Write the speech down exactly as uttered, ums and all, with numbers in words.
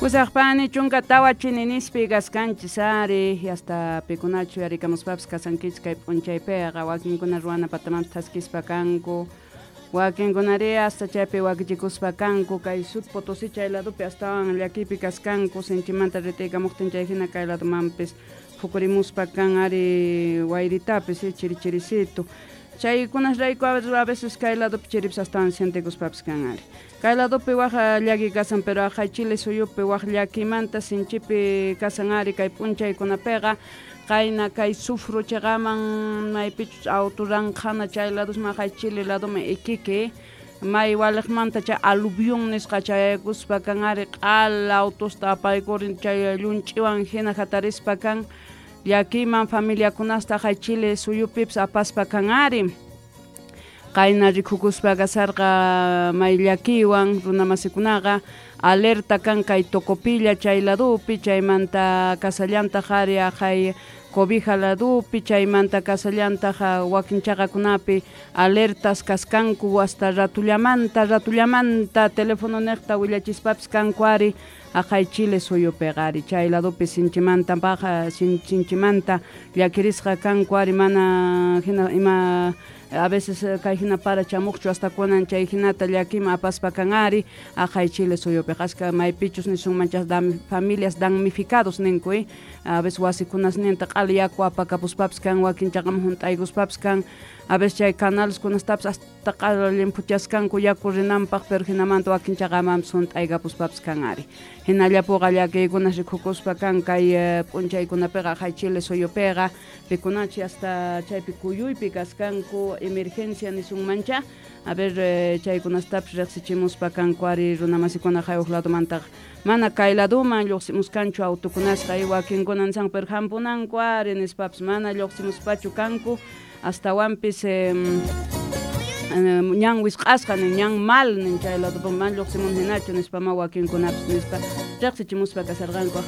Pusaqpani chunka tawa chininispi kaskanchis ari hasta pikunachu yarikamuspapis kasankichis kay p'unchaypiqa wakinkuna ruwana patamanpis thaskispa kanku wakinkunari hasta chaypi wakichikuspa kanku kay Sud Potosí chay ladopi astawan llakiypi kaskanku sinchimanta ritiykamuqtin chay hina kay ladomanpis phukurimuspa kan ari wayritapis chiri chirisitu chaykunasrayku a veces kay ladopi chiripis astawan sientikuspapis kan ari kay ladopi waj llaki kasan pero aqhay Chile suyupi waj llakimanta sinchipi kasan ari kay p'unchaykunapiqa qayna kay sufro chayqaman maypichus auto ranqhana chay ladosman aqhay Chile ladoman Iquique may waliqmanta chay aluvión nisqa chayaykuspa kan ari q'ala autosta apaykurin chay llunch'iwan hina hatarispa kan llakiyman familiakunasta aqhay Chile suyupipis apaspa kan ari qayna rikukuspa kasarqa may llakiywan runamasikunaqa alerta kan kay Tocopilla chay ladupi chaymanta kasallantaq ari aqhay Cobija ladupi chaymanta kasallantaq wakin chaqakunapi alertas kaskanku hasta ratullamanta ratullamanta teléfono niqta willachispapis kanku ari aqhay Chile suyupiqa ari chay ladupi sinchimanta paqa sinchimanta llakirisqa kanku ari mana hina ima a veces kay hina para chamuqchu hasta kunan chay hinata llakima apaspa kan ari aqhay Chile suyupiqa ashka maypichus nisunman chay familias damnificados ninku eh a veces wasikunasninta q'ala yaku apakapuspapis kan wakin chaqaman hunt'aykuspapis kan a veces chay canales kunastapis hasta q'ala llimphuchaskanku yaku rinanpaq pero hinamanta wakin chaqamanpis hunt'aykapuspapis kan ari hinallapuqa llakiykunas rikukuspa kan kay p'unchaykunapiqa aqhay Chile suyupiqa pikunachi hasta chaypi kuyuypi kaskanku emergencia nisunmancha a ver chaykunastapis riqsichimuspa kanku ari runamasikuna haywaq ladomantaqa mana kay ladoman lluqsimuskanchu autokunasqa wakinkuna nisan pero hampunanku ari nispapis mana lluqsimuspachu kanku astawanpis eh, ñan wisq'asqa nin ñan mal nin chay ladopi mana lluqsimun hinachu nispama wakinkunapis nispa riqsichimuspa kasarqanku.